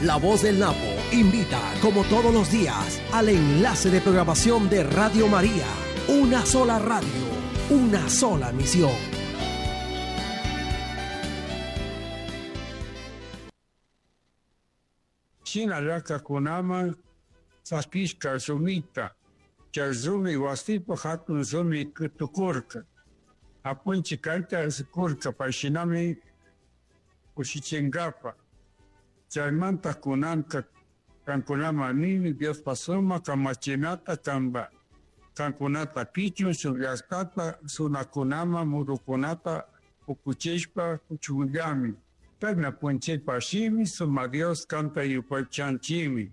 La Voz del Napo invita, como todos los días, al enlace de programación de Radio María. Una sola radio, una sola misión. Shina llaktakunaman saquishka rumita, chay rumi wasipa hatun rumi tukurka. Apunchik kayta rikurka pay shinami kushichinkapa. Chaymanta kunanka kankunaman nini Diospa sumak kamachinata kanpa kankunata kichun shuk llaktata runakunaman murukunata pukuchishpa kuchunllami. Kayna punchaypa shimi suma Dios kanta yupaychanchimi.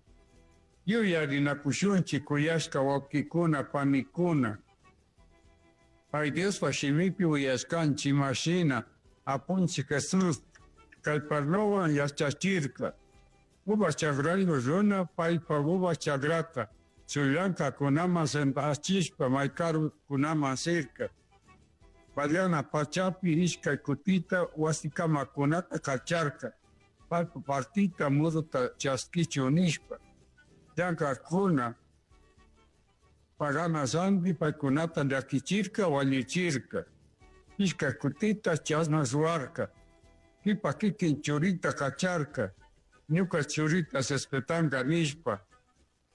Yuyarinakushunchik kuyashka wawkikuna panikuna. Pay Diospa shimipi uyashkanchik imashina apunchik Jesús kay parlowan yachachirka. Uva chakrayu runa paypa uva chakrata chullankakunaman sentachishpa may karukunaman sirka. Pallana pachapi ishkay kutita wasikamakunata kacharka. Paypa partita muruta chaskichun nishpa. Llankakuna pagana ranti paykunata llakichirka wañuchirka. Ishkay kutita chashna ruwarka. Kipa kikin churita kacharka. Ñuka churita respetanka nishpa.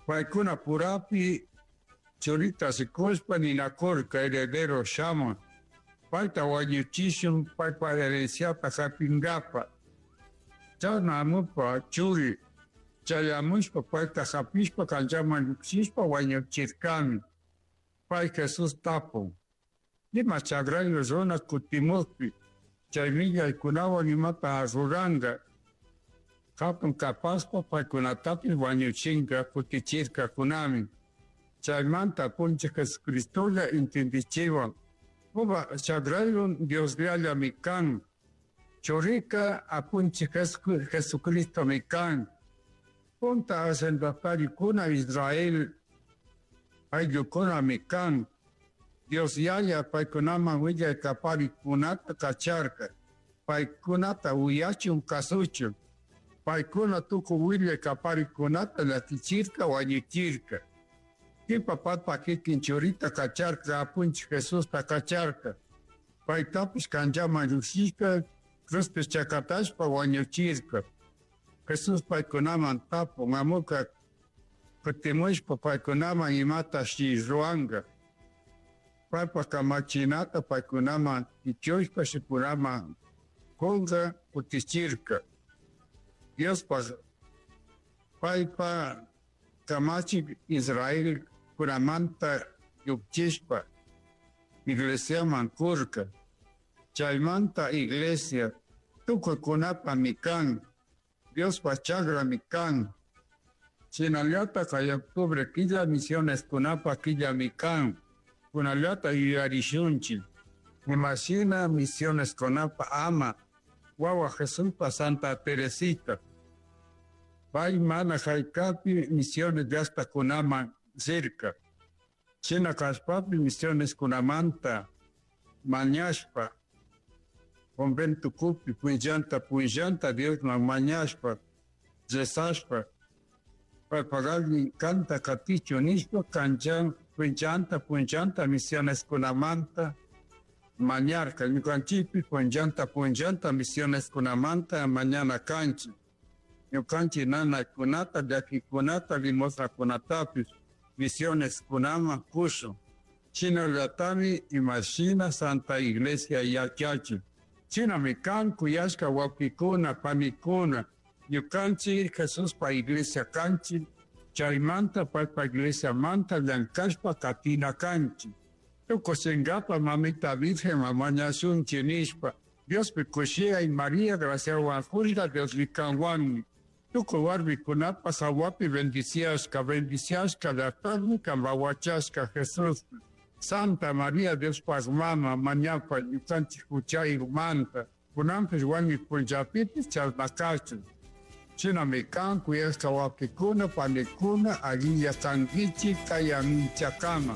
Paykuna purapi churita rikushpa ninakurka heredero shamun. Payta wañuchishun paypa herenciata hapinkapa. Chashna amupa churi chayamushpa payta hapishpa kanchaman llukshishpa wañuchirkami. Pay Jesús tapun. Ima chakrayu runa kutimukpi chay millaykunawan imata ruranka. Hatun kapaspa paykunatapish wañuchinka kutichirkakunami. Chaymanta apunchik Jesucristolla entendichiwan. Uva chakrayu Diosllallami kan. Churika apunchik Jesucristomi kan. Punta hacendatarikuna Israel ayllukunami kan. Dios Yaya paykunaman willay kaparikunata kacharka. Paykunata uyachun kasuchun. Paykuna tukuy willay kaparikunata llakichirka wañuchirka. Kipa paypa kikin churita kacharka apunchik Jesusta kacharka. Paytapish kanchaman llukshishpa cruzpi chakatashpa wañuchirka. Jesús paykunaman tapun amuka kutimushpa paykunaman imatashi ruwanka. Paypa kamachinata paykunaman ichushpa shikunaman kunka kutichirka. Diospa paypa kamachik Israel kunamanta llukchishpa iglesiaman kurka. Chaymanta iglesia tukuykunapami kan. Diospa chakrami kan. Shinallata kay octubre killa misioneskunapa killami kan. Kunallata yuyarishunchik. Imashina misioneskunapa ama wawa Jesuspa Santa Teresita. Pay mana haykapi misiones llaktakunaman rirka. Shina kashpapi misioneskunamanta mañashpa conventokupi punllanta punllanta Diosman mañashpa rezashpa paypak kanta katichun nishpa kanchan punllanta punllanta misioneskunamanta mañarka. Ñukanchikpish punllanta punllanta misioneskunamanta mañana kanchik. Ñukanchik nanaykunata, llakikunata, limosnakunatapish misioneskunaman kushun. Shinallatami imashina Santa Iglesia yachachin. Shinami kan kuyashka wawkikuna, panikuna, ñukanchik Jesuspa iglesia kanchik, chaymanta paypa iglesiamanta llankashpa katina kanchik. Tukuchinkapa mamita Virgen mañashunchik nishpa, Diospi kushiyay María graciawan juzga Diosmi kanwanmi. Tukuy warmikunapas hawapi bendiciashka, bendiciashka llaqtami kanpa wachashka Jesús. Santa María Diospaq mama mañapa ñukanchik huchayumanta. Kunanpish wañuy punllapipis chashna kachun. Shinami kan kuyashka wawkikuna panikuna allilla kankichik kay aminchakama.